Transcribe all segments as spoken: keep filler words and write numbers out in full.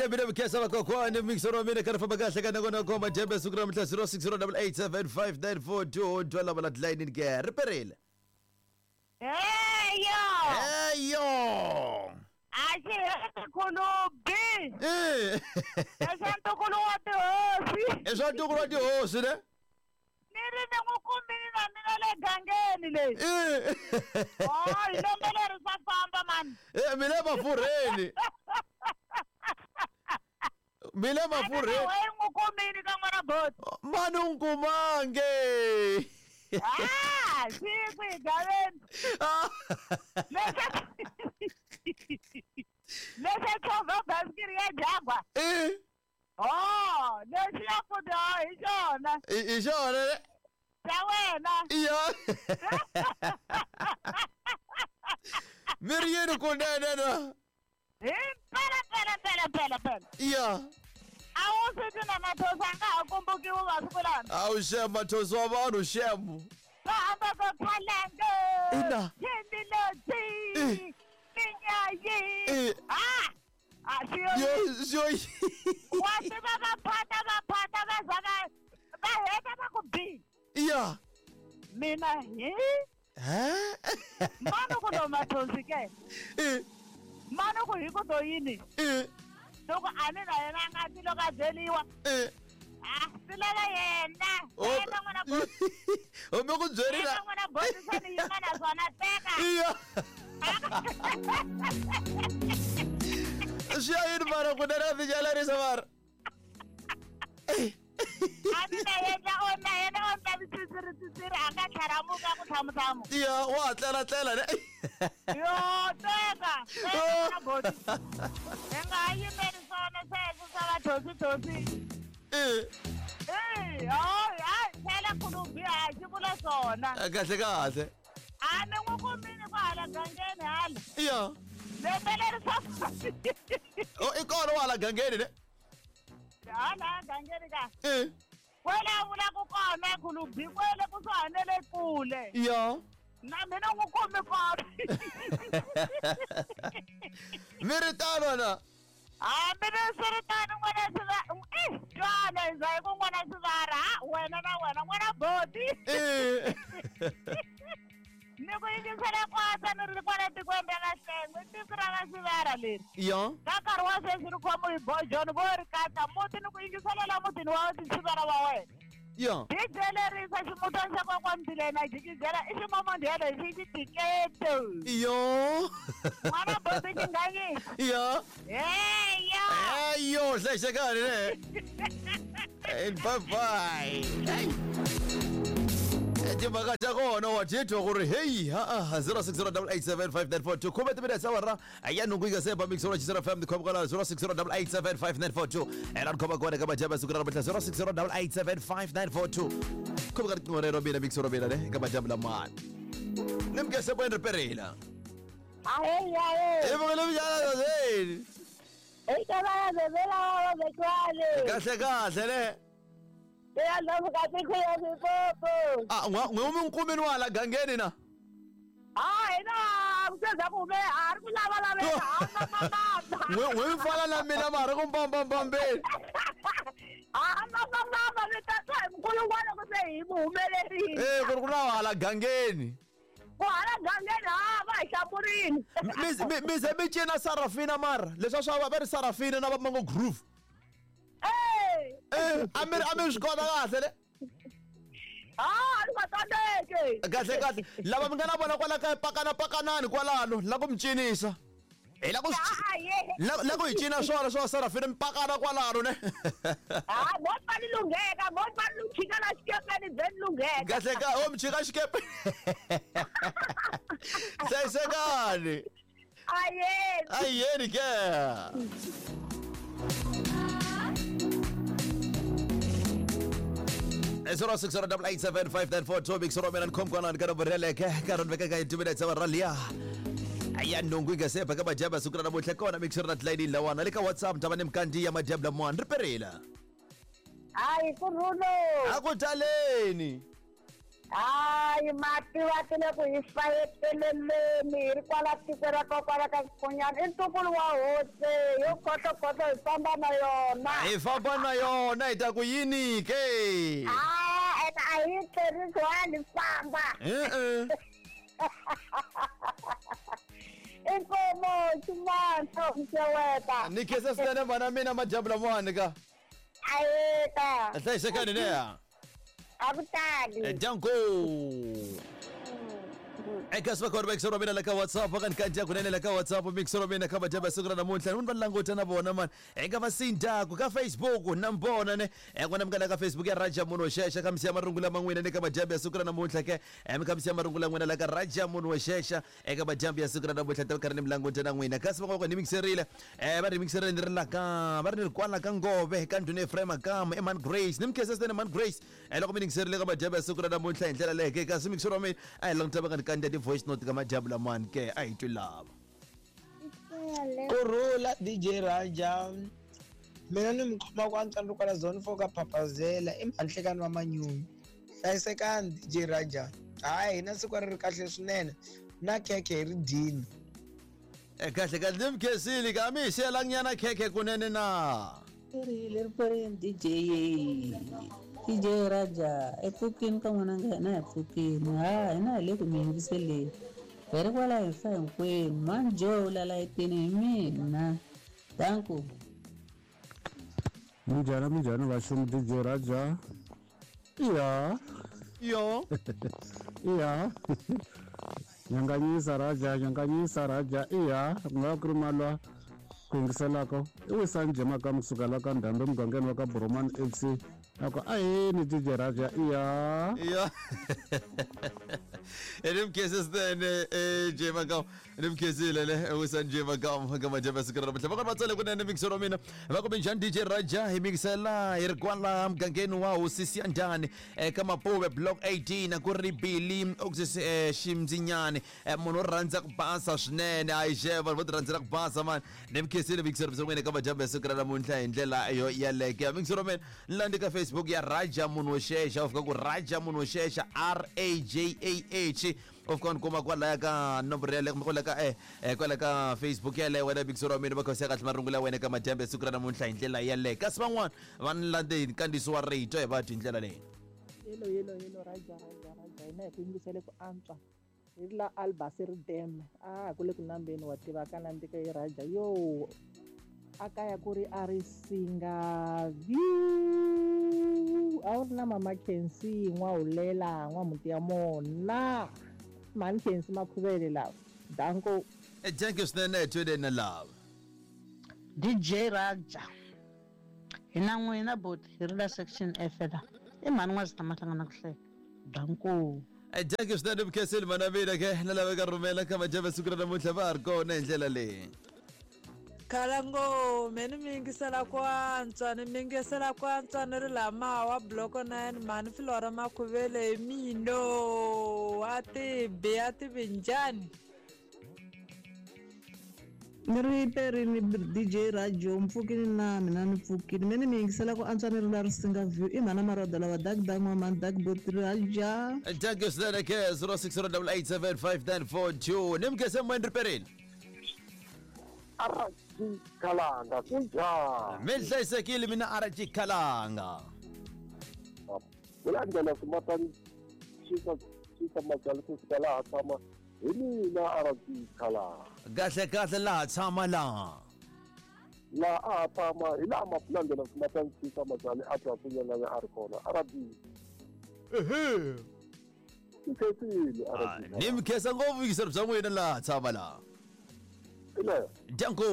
na mina mkhesa vakokwani mixoro wa mina karhi famba kahle ka nakona koma jembe siku ra mihla zero six zero double eight seven five nine four two twa lava la tilayinini ke ri perile. Heyo! Heyo! A xi heti khulubi! Eh! I swa ntukulu wa tihosi. I swa ntukulu wa tihosi ne? Ni ri ni n'wi kumile na mina le gangeni leyi. Eh! Oh, lembe leri swa famba mani. Eh, mi le mafurheni. Mi le mafurheni. A n'wi kumile ka n'wana boti. Mani u n'wi kumange. Ah, siku hi gaveni. Leswi leswi chovha basikiri ya Jaguar. Eh. Oh, leswi ya futhi hi xona. I xona ne? Xa wena. Iya. Mi ri yini kunene na? Hi mpela mpela mpela mpela mpela. Iya. A wu swi twi na mathosi a nga ha kumbukiwi masiku lama. A wu xem mathosi wa vanhu xem. Va hamba va phalanga. Ina. Yini Minyayi. Ah! A swi yo yo. Wa tiva va phata va phata va za va va heta va ku bi. Iya. Mina hi? Eh? Mani ku lo mathosi ke? Eh. Mani ku hi ku to yini? Eh. Loko a ni na yena a nga ti loko a byeriwa. Eh. Ah, swi lava yena. Yena n'wana boti. O mi ku byerile. Yena n'wana boti se ni yima na swona teka. Iya. Swi ya yini mara kunene a tijalerisa mara. A ni na yena o na yena o ta tsitsiri tsitsiri a nga tlharamuka ku tlhamutlamu. Iya, wa tlela tlela ne. Yo, teka. Teka n'wana boti. Hi nga ha yimeli swona sweswo swa vathosi thosi. Eh. Eh, hayi, hayi, tlhela khulubi ha xi vula swona. Kahle kahle. A ni n'wi kumile kwahala gangeni hala. Iya. Lembe leri swa Oh, i kona wahala gangeni ne? Hala gangeni ka. Eh. Kwele a vula ku kona khulubi kwele kusuhani na le kule. Iya. Na mina n'wi kumi kona. Mi ri tano na? Hambi swi ri tano n'wana swi eh twana hi za hi ku n'wana Sivara ha wena na wena n'wana boti. Eh. Ni ku yingisela kwasa ni ri kwala tikweni ra Kahlengwe tiko ra ka Sivara leri. Iya. Ka nkarhi wa sweswi ri khomiwe hi Bojoni vo ri katsa muti ni ku yingisela la mutini wa Sivara wa wena. Iya. Hi byelerisa ximutana xa kokwana Mbilena jikijela i ximomondhelo hi xi xitiketo. Iyo. N'wana boti xinganyisa. Iya. Heyo. Heyo, hlayisekani ne. Bye bye. Hey. Timhaka ta kona wa titwa ku ri hey ha zero six zero double eight seven five nine four two khume timinetse awara ya nhungu yi nga se ba mixolo xisera F M ni khoma kwala zero six zero double eight seven five nine four two ena ni khoma kona ka majambu siku ra namuntlha zero six zero double eight seven five nine four two khoma ka riqingho rero mina mixolo mina ne ka majambu lamani ni mukese bo ri perela Ahe ahe. E vokele vijana zeni Eka va bebela wa bekwale. Kahle kahle ne. Ya lava ka tiko ya Limpopo. Ah, n'we mi nkumeni wa hala gangeni na? Ah, hina ku ku me a ri ku lava laveka a mama. N'we n'we mi fana na mina mara ku mbambambambeni. Ah, mama mama ni ta twa hi mkulungwana ku se hi mu humelerile. Eh, ku ri ku na hala gangeni. Ku hala gangeni ha va hi hlamurini. Mi mi ze mi cina Sarafina mara leswi swa va va ri Sarafina na va Mango Groove. Eh. Eh, a mi a mi swi kota kahle le. Ah, ni nga tsandzeki. Kahle kahle lava mi nga na vona kwala kaya pakana pakanani kwalano la ku mi cinisa. Hi la ku la ku hi cina swona swa Sarafina mi pakana kwalano ne. Ah, mo pa ni lungheka, mo pa ni chika la xikepeni bye ni lungheka. Kahle ka o mi chika xikepe. Hlayisekani. Ayeni. Ayeni ke. zero six zero double eight seven five nine four two mixolo mina ni khomkwana ni ka nomboro yeleke ka rona veka ka two minutes awara liya ya nhungu yi nga se ba ka majambu siku ra namuntlha kona mixolo na tilayini lawana le ka WhatsApp ni ta va ni mikandziya majambu lamawani ri perile. Hayi kurhulo. A ku taleni. Hayi mativa ti le ku hi fayeteleleni hi ri kwala tiko ra kokwala ka Sikhunyana i ntukulu wa hosi yo khotlokotlo hi famba na yona hi famba na yona hi ta ku yini ke a ene a hi tlherisi wani famba e-e inkomo ximantho mxeweta ni khensa swinene mhana mina madyambu lamawani ka ayeka hlayisekani neya a ku tali danko eka sivakona va mixero mina la ka WhatsApp ka ni kandziya kunene la ka WhatsApp mixero mina ka madyambu ya siku ra namuntlha ni va languta na vona mani eka va sindaku ka Facebook na mbona ne n'wina mi nga la ka Facebook ya Raja Munhu Xexa ka misiya marungu lama n'wina ni ka madyambu ya siku ra namuntlha ke mi kha misiya marungu la n'wina la ka Raja Munhu Xexa eka madyambu ya siku ra namuntlha ta karhi ni mi languta na n'wina kasi van'wana ni mixerile eh va ri mixerile ni ri la ka va ri ni ri kwala ka Ngove ka ndhuna Ephraim Makam Eman Grace ni mi khensa swinene Man Grace eh loko mi mixerile ka madyambu ya siku ra namuntlha hi ndlela leyi ke kasi mixero wa mina a hi languta va nga ni kandziya ti-voice note ka madyambu lamani ke a hi twi lava Kurhula D J Raja mina ni mi khoma ku antswa ni ri kwala zone four ka Phaphazela i mhanhlekani wa Manyunyu hlayisekani D J Raja hayi hina siku ri ri kahle swinene na khekhe hi ri dyini kahle kahle ni mi khensile ka mi hi xiyelanyana khekhe kunene na ri ri D J D J Raja epfukini ka n'wana nga hina hi pfukini ha hina hi le ku mi yingiseleni hi ri kwala hi fa hinkwenu mani Joe lala etini hi mina danku minjhani minjhani vaxumi D J Raja iya yo iya nyanganyisa Raja nyanganyisa Raja iya ku nga ku ri malwa ku yingiselaka i wisani jemaka kusuka la ka Ndhambi emugangeni wa ka Boromani F C ako aheni D J Raja iya iya ni mi khensa swinene Jemaka ni mi khensile le wisani Jemaka ka madyambu ya siku ra namuntlha va kona va tsale kunene mixero wa mina va ku minjhani D J Raja hi mixela hi ri kwala mugangeni wa hosi Siyandhani eka Mapuve block eighteen ku ri Billy Oxys Ximdzinyani munhu wo rhandza ku basa swinene a yi xeva vanhu vo ti rhandzela ku basa mani ni mi khensile mixero bya n'wina eka madyambu ya siku ra namuntlha hi ndlela yo yeleke mixero wa mina ni landze ka Facebook ya Raja Munhu Xexa u fika ku Raja Munhu Xexa R A J A H u fika ni kuma kwalaya ka nomboro yaleyo kumbe kwala ka eh kwala ka Facebook yaleyo wena mixero wa mina va khosa kahle marungu la wena eka madyambu ya siku ra namuntlha hi ndlela yaleyo kasi van'wana va ni landze hi nkandziyiso wa rito hi va twi hi ndlela leyi yelo yelo yelo Raja Raja Raja hina hi ku yingisele ku antswa hi ri la Albaseri Dam a ku le ku nambeni wa tiva ka nandzika hi Raja yo a kaya ku ri a ri singa view a wu ri na mama Khensi n'wahulela n'wamuti ya mona mhani Khensi Makhuvele lava danko thank you swinene twede na lava D J Raja hina n'wina boti hi ri la section F la i mhani n'wazita mahlangana ku hleka danko thank you swinene mikhensile mhana mina ke na lava ka rhumela ka madyambu ya siku ra namuntlha va ha ri kona hi ndlela leyi Khalangome ni mi yingisela ku antswa ni mi yingisela ku antswa ni ri lama wa block nine mhani Flora Makhuvele hi mino a tibi a tibi njhani ni ri perini D J Rajo mpfukini na mina ni pfukini me ni mi yingisela ku antswa ni ri la Risinga View i mhana Maroda lava dak dak n'wamani dak boti Raja thank you swinene ke zero six zero double eight seven five nine four two ni mi khense moyeni ri perini R G Khalanga kunjani mi hlayisekile mina R G Khalanga kulandela swimatani xisa xisa majali kusuka laha tshama hi mina R G Khalanga kahle kahle laha tshama laha laha a ha tshama hi laha mapulandela swimatani xisa majali a twa kunyanganya a ri kona R G ehe ni khensile R G ni mi khensa ngopfu vuyingiseri bya n'wina laha tshama laha Danko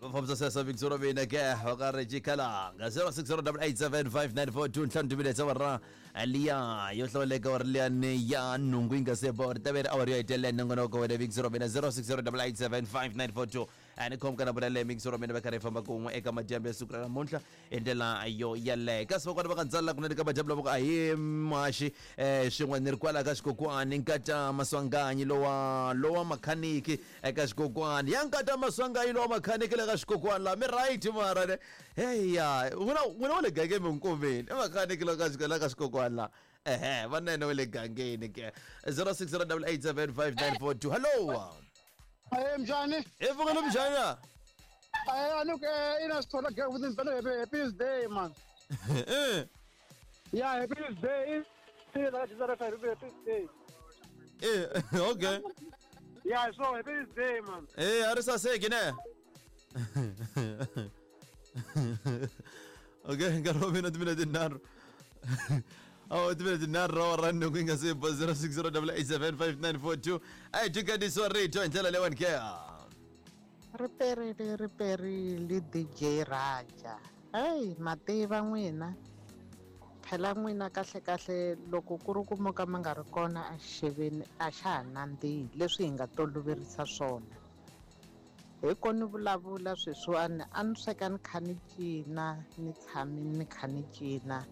va fambisa sweswo mixero wa mina ke va ka Reggie Khalanga zero six zero double eight seven five nine four two ntlhanu timinetse awara liya yo hlawuleka wa ri liyani ya nhungu yi nga se ba ri ta ve ri awara yo hetelela nongonoko wena mixero wa mina zero six zero double eight seven five nine four two A ni khomka na vona le mixer wa mina va karhi hi famba kun'we eka madyambu ya siku ra namuntlha hi ndlela yo yaleyo. Kasi vakwana va ka ndzala kunene ka madyambu lava ku ahi maxi um swin'we ni ri kwala ka xikokwani nkata Maswanganyi lowa lowa makhaniki eka xikokwani ya nkata Maswanganyi lowa makhaniki le ka xikokwani laha mi right mara ne heya n'wina n'wina wa le gangeni mi nkumeni i makhaniki la ka la ka xikokwani laha ehe vanene wa le gangeni ke zero six zero double eight seven five nine four two. Hello. Hey mjani. Hey vukile mjani. Hey anuk ina sithola ke ukuthi ngicela happy day man. Eh. Yeah, happy day. Happy day. Eh, okay. Yeah, so happy day man. Eh, a ri saseki ne? Okay, nkarhi wa mina timinete tinharhu. Oh, timinete tinharhu ra wara nhungu yi nga se ba zero six zero double eight seven five nine four two. A hi dyukanisiwa rito hi ndlela leyiwani ke. Ri perile ri perile D J Raja. Hey, mativa n'wina. Phela n'wina kahle kahle loko ku ri ku mo ka mi nga ri kona a xixeveni a xa ha nandzihi leswi hi nga toloverisa swona. Hi ko ni vulavula sweswiwani a ni sweka ni kha ni cina ni tshami ni kha ni cina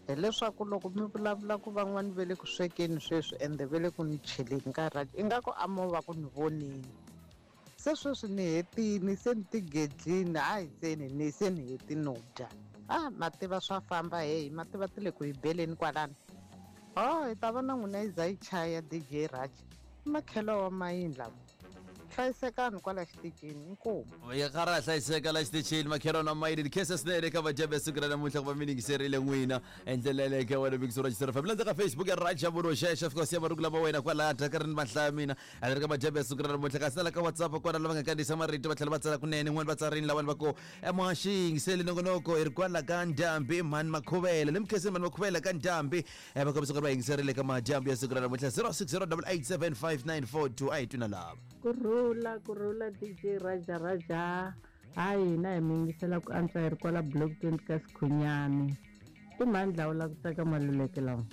hileswaku loko mi vulavula ku van'wani ve le ku swekeni sweswi ende ve le ku ni cheleni ka Raja ingaku a mo va ku ni vonini. Se sweswi ni hetini se ni tigedlini hayi se ni ni se ni hetini no dya. Ah, mativa swa famba hey mativa ti le ku hi beleni kwalano. Oh, hi ta vona n'wina yi za yi chaya D J Raja. Makhelo wa mayini lama. Hlayisekani kwala xitichini inkomu. Ya karhi a hlayiseka la xitichini makhelo na mayini khensa swinene eka vadyambu ya siku ra namuntlha ku va mi yingiserile n'wina hi ndlela yaleyo ka wena mixer wa Xitsonga F M. Landza ka Facebook ya Raja Muroxexa fika siya marungu lama wena kwalaya ka ri ni mahlaya mina a ri ka madyambu ya siku ra namuntlha kasi na la ka WhatsApp kona lava nga kandziyisa marito va tlhela va tsala kunene n'wani va tsarini lavani va ku muhaxi yingiseli nongonoko hi ri kwala ka Ndhambi mhani Makhuvela ni mi khenseni mhani Makhuvela ka Ndhambi va kombisa ku ri va yingiserile ka madyambu ya siku ra namuntlha zero six zero double eight seven five nine four two. A hi twina lava. Kurhula kurhula D J Raja Raja. Hayi hina hi mi yingisela ku antswa hi ri kwala block twenty ka Sikhunyani. I mhani dlawula ku tsaka maluleke lawa.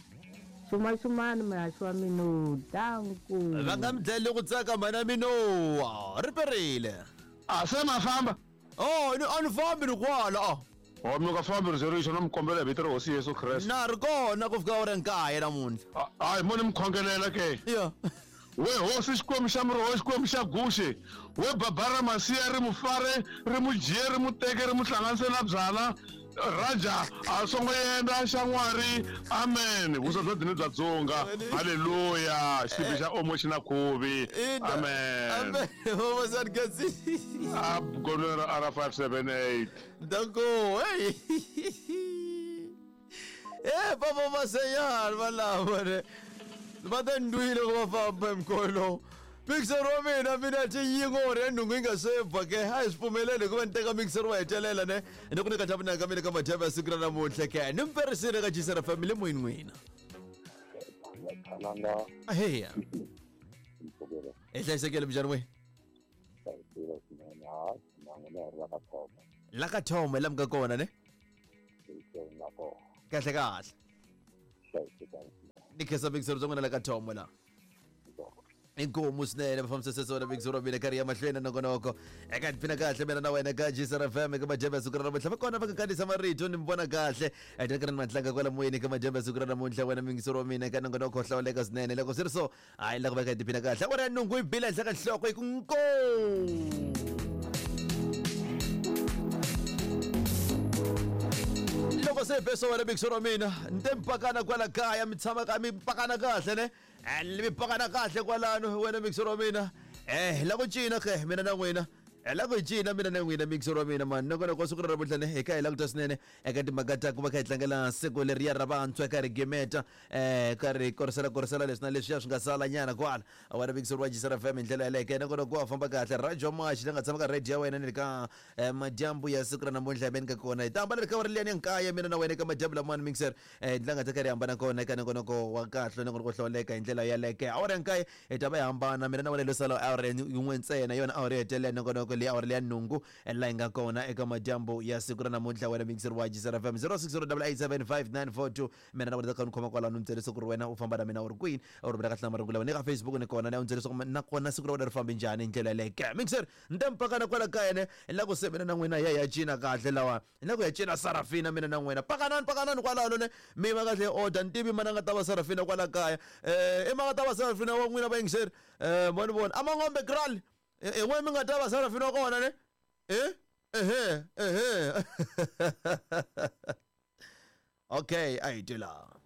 Xumaxumani muhaxi wa mino danku. Va nga mi dlayeli ku tsaka mhana mino ri perile. A se ma famba. Oh, ni a ni fambi ni kwala. Oh, mi nga fambi ri zero na mi kombela hi vito ra Hosi Yesu Kreste. Na ri kona ku fika awara nkaye namuntlha. Hayi mo ni mi khongelela ke. Yeah. We hosi xikwembu xa miroho xikwembu xa guxe we babara masiya ri mufare ri mujiye ri muteke ri muhlanganise na byala Raja a songo yenda xa n'wari amen vuswa bya dini bya dzonga haleluya xitibi xa omo xi na khuvi amen amen vavasati kasi a gonera R five seven eight danko hey eh papa maseyar valavo ne va ta ndwile ku va famba emkholo mixer wa mina mina ti yingo re nhungu yi nga se bva ke a hi swi pfumeleli ku va ni teka mixer wa hetelela ne ni ku nyika xapunaka mina ka madyambu ya siku ra namuntlha ke ni mi perisile ka G C R Family moyeni n'wina. Aheya hi hlayisekile minjhani n'we la ka Thoma la mi nga kona ne kahle kahle ni khensa mixer bya n'wina la ka Thoma la inkomu swinene va fambisa sweswo na mixer wa mina karhi ya mahlweni nongonoko eka tiphina kahle mina na wena ka G C R F M eka madyambu ya siku ra namuntlha va kona va nga kandziyisa marito ni mi vona kahle eka ri ni matlanga kwala moyeni eka madyambu ya siku ra namuntlha wena mixer wa mina eka nongonoko hlawuleka swinene loko swi ri so hayi la ku va ka tiphina kahle awara ya nhungu yi bile henhla ka nhloko yi ku nko. Loko se beso wena mixer wa mina ni te mi pakana kwala kaya mi tshama ka mi pakana kahle ne mi pakana kahle kwalano wena mixer wa mina eh la ku cina ke mina na n'wina la ku cina mina na n'wina mixer wa mina mani nongonoko wa siku ra namuntlha ne hi kha hi languta swinene eka timhaka ta ku va kha hi tlangela siku leriya ra vantshwa ka ri gimeta um ka ri korisela korisela leswi na leswiya swi nga sala nyana kwala wena mixer wa G C R F M hi ndlela yaleyo ke nongonoko wa famba kahle Raja Mashi la nga tshama ka radio ya wena ni le ka madyambu ya siku ra namuntlha hi ka kona hi ta hambana ri ka ri liyani ya nkaya mina na wena eka madyambu lamawani mixer um la nga ta ka ri hambana kona eka nongonoko wa kahle nongonoko hlawuleka hi ndlela yaleyo awara ya nkaye hi ta va hi hambana mina na wena lo sala awara yin'we ntsena yona awara yo hetelela nongonoko leyi awara leya nhungu laha hi nga kona eka madyambu ya siku ra namuntlha. Wena mixer wa Gisela F M zero six zero double eight seven five nine four two, mina na wena ka ni khoma kwalano, ni byele siku ri wena u famba na mina u ri kwini, u rhumela kahle na marungu lawa ni ka Facebook ni kona, ni ya u byele leswaku nakona siku ra wena ri fambe njhani hi ndlela yaleyo ke. Mixer ni ta mpakana kwala kaya ne ni la ku se mina na n'wina ya ya cina kahle lawa, ni la ku ya cina Sarafina mina na n'wina, pakanani pakanani kwalano ne mi va kahle order ni tivi mana nga ta va Sarafina kwala kaya, eh i ma nga ta va Sarafina wa n'wina va yingiseri, eh vona vona a mangombe kral e n'we mi nga ta va Sarafina wa kona ne eh ehe ehe okay a hi tela.